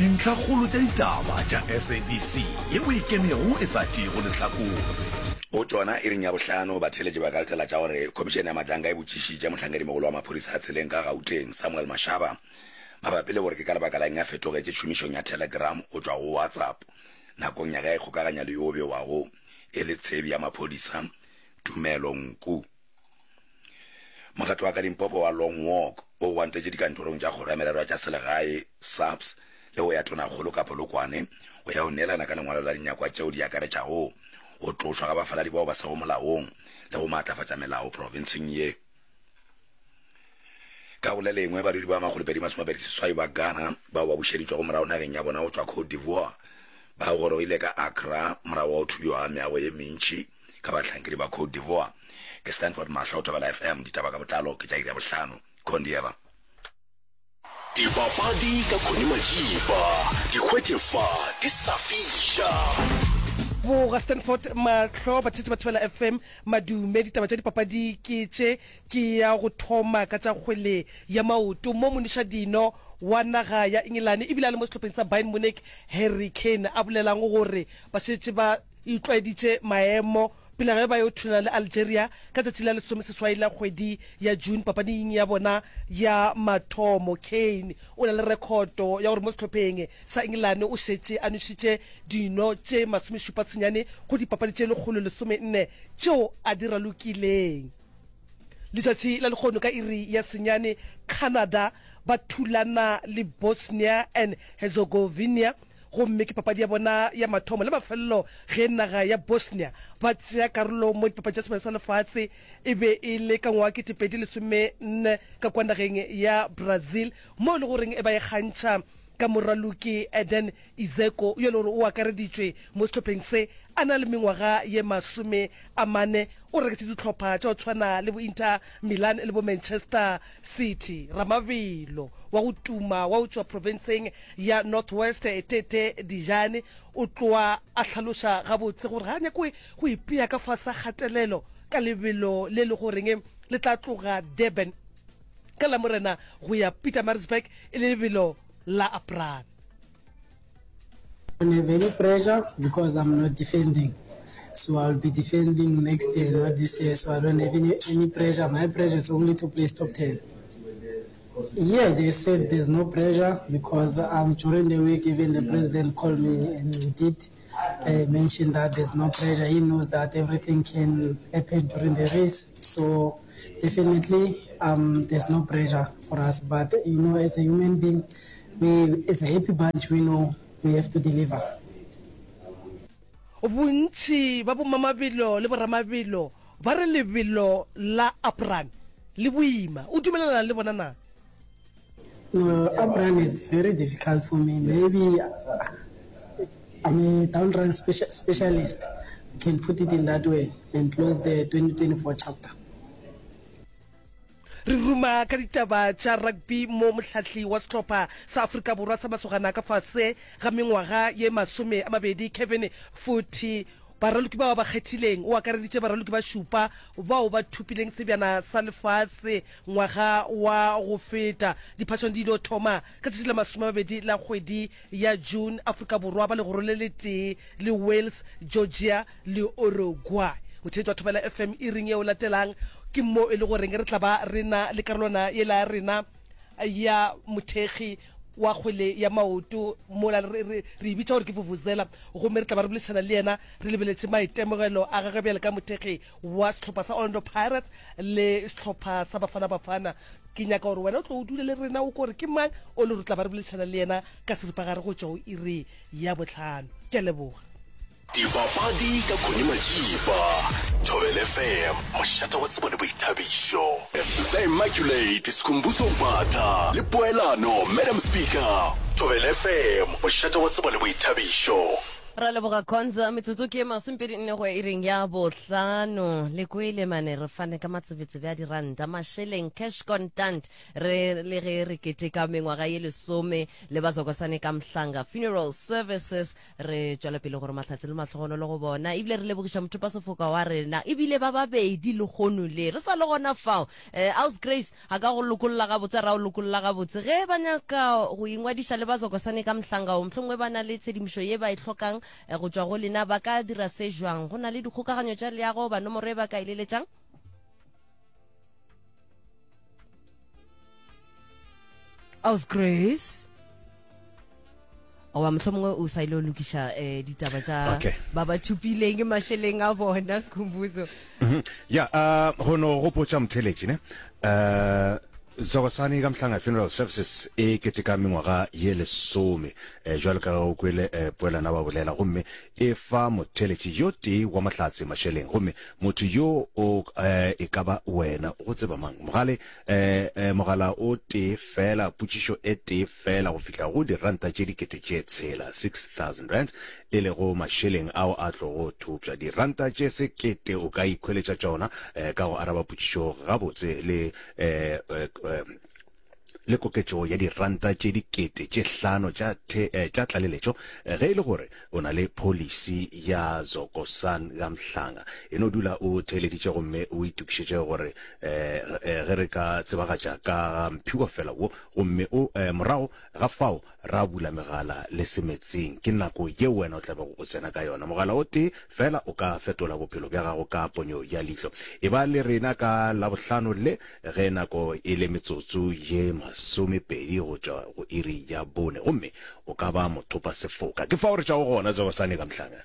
Dintlhakgolo tša ditaba tša SABC ye o e kenego e sa tšeego lehlakore. Go tšona iring ya bohlano, batheeletši ba ka letela tša gore Khomišene ya Matlanka e botšišitše mohlankedimogolo wa maphodisa a tseleng ka Gauteng, Samuel Mashaba, mabapi le gore ke ka lebaka la eng a fetogetše tšhomišong ya Telegram go tšwa go WhatsApp nakong ya ge a ikgokaganya le yo o bewago e le tshebi ya maphodisa, Tumelo Nku. Mokgatlo wa ka Limpopo wa Long Walk o gwantetše dikantorong tša Kgoro ya Merero ya tša Selegae, SAPS, le go ya Tonakgolo ka Polokwane go ya go neelana ka lengwalo la dinyakwa tšeo di akaretšago go tlošwa ga bafaladi bao ba sego molaong le go maatlafatša melao profenseng ye. Ka go le lengwe, badudi ba 228 ba Ghana bao ba bušeditšwego morago nageng ya bona go tšwa Cote d'Ivoire ba gorogile ka Accra morago ga go thubiwa ga meago ye mentši ka bahlankedi ba Cote d'Ivoire. Ke Stanford Mahlo, Thobela FM, ditaba ka botlalo ke tša iri ya bohlano. Kondieva. Dipapadi ka Connie Majiba, di hwetše fa di sa fiša. Boga Stanford Mahlo, batheetši ba Thobela FM, madume. Ditaba tša dipapadi ke tše, ke ya go thoma ka tša kgwele ya maoto mo monišadino wa naga ya Engelane ebile a le mo sehlopheng sa Bayern Munich Harry Kane a bolelang gore ba šetše ba itlwaeditše maemo pele ge ba yo thulana le Algeria ka tšatši la lesomeseswai la kgwedi ya June papading ya bona ya mathomo. Kane o na le rekhoto ya gore mo sehlopheng sa Engelane o šetše a nwešitše dino tše masomešupa-senyane go dipapadi tše 114 tšeo a di ralokileng. Letšatši la lehono ka iri ya senyane Canada ba thulana le Bosnia and Herzegovina gomme ke papadi ya bona ya mathomo le mafelelo ge naga ya Bosnia ba tšea karolo mo dipapadi tša Sebjana sa Lefase. E be e le ka ngwaga 2014 ka kua nageng ya Brazil mo e le goreng e ba e kgantšha ka moraloki Eden Izeko yo e le gore o akareditšwe mo sehlopheng se a na le mengwaga ye 40, o reketše dihlopha tša go tshwana le bo Inter Milan le bo Manchester City. Ramabelo wa go tuma wa go tšwa profenseng ya North West, Tete Dijane, o tloa a hlaloša gabotse gore ga a nyake go ipea ka fase ga kgatelelo ka lebelo le le goreng le tla tloga Durban ka Lamorena go ya Pietermaritzburg e le lebelo la Aprane. I don't have any pressure because I'm not defending. So I'll be defending next year, not this year. So I don't have any, any pressure. My pressure is only to place top 10. Yeah, they said there's no pressure because um, during the week, even the president called me and he did uh, mention that there's no pressure. He knows that everything can happen during the race. So definitely um, there's no pressure for us. But, you know, as a human being, we, as a happy bunch, we know we have to deliver. Bontši ba bomamabelo le boramabelo ba re lebelo la Upran le boima. O dumelelana le bona na? No, Upran is very difficult for me. Maybe I'm a down run specialist. I can put it in that way and close the 2024 chapter. Re ruma ka ditaba tša rugby mo mohlahli wa sehlopha sa Afrika Borwa sa masogana ka fase ga mengwaga ye 20 Kevin Foote baraloki bao ba kgethileng o akareditše baraloki ba šupa bao ba thopileng sebjana sa lefase ngwaga wa go feta. Diphašano di ilo thoma ka tšatši la 20 la kgwedi ya June, Afrika Borwa ba legoro le letee le Wales, Georgia le Uruguay. Motheetši wa Thobela FM iring yeo latelang ke mo e le goreng re tla ba re na le karolwana yela ya rena ya mothekgi wa kgwele ya maoto mola re, re, re e bitša gore ke vuvuzela, gomme re tla ba re boledišana le yena re lebeletše maitemogelo a gagwe bjale ka mothekgi wa sehlopha sa Orlando Pirates le sehlopha sa Bafana Bafana. Ke nyaka gore wena o tlo o dule le rena o kore ke mang o le gore tla ba re boledišana le yena ka seripagare go tšwa go iri ya bohlano. Ke a leboga. Dipapadi ka Connie Majiba, Thobela FM, mošate wa tsebo le boithabišo. The Immaculate, Skhumbuzo Mbatha le Poelano, Madam Speaker, Thobela FM, mošate wa tsebo le boithabišo. Ra leboga Khonza, metsotso ke masomepedi nne go ya iring ya bohlano. Le kwele mane re fane ka matsebetsebe a diranta, mašeleng, cash contant, re le ge re keteka mengwaga ye lesome le Bazokosane ka Mhlanga Funeral Services. Re tšwela pele gore mahlatse le mahlogonolo go bona, ebile re lebogiša mothopasefoka wa rena, ebile ba babedi lehono le re sa le gona fao. Eh, Aus Grace, A ka go lokolla gabotse, a ra o lokolla gabotse. Ge ba nyaka go ingwadiša le ba Zokosane ka Mhlangao, mohlomongwe ba na le tshedimošo ye ba e hlokang go tšwa go lena, ba ka dira se jwang? Go na le dikgokaganyo tša leago goba nomoro ye ba ka e leletšang? Aus Grace. Goba mohlomongwe o sa ile o lokiša eh, ditaba tša Okay. ba ba thupileng mašeleng a bona, Skhumbuzo. Mhm. Ya, uh, go no gopotša motheeletši ne. Uh, Zokosane ka Mhlanga Funeral Services e keteka mengwaga ye lesome eh, jwalo ka ge o kwele eh, Poelana ba bolela, gomme e fa motheeletši yo tee wa mahlatse mašeleng, gomme motho yo o eh, e ka ba wena. Go tseba mang? Mogale eh, eh, mogala o tee fela, potšišo e tee fela go fihla go diranta tše dikete tše tshela, 6000 rands, e lego mašeleng ao a tlogo thopša. Diranta tše sekete o ka ikhweletša tšona eh, ka go araba potšišo gabotse le eh, eh, eh, le koketšo ya diranta tše dikete tše hlano tša the, eh, tša tlaleletšo eh, ge e le gore o na le pholisi ya Zokosan ga Mhlanga. E no dula o theeleditše gomme o itokišetše gore eh, eh, ge re ka tsebagatša ka ga mphiwafela wo gomme o eh, morago ga fao ra bula megala le semetseng. Ke nako yeo wena o tla bego o tsena ka yona. Mogala o tee feela o ka fetola bophelo bja gago ka ponyo ya leihlo. Eba le rena ka Labohlano le ge nako e le metsotso ye masomepedi go tšwa go iri ya bone, gomme o ka ba mothopasefoka. Ke fao re tšwago gona, Zogosane ka Mhlanga.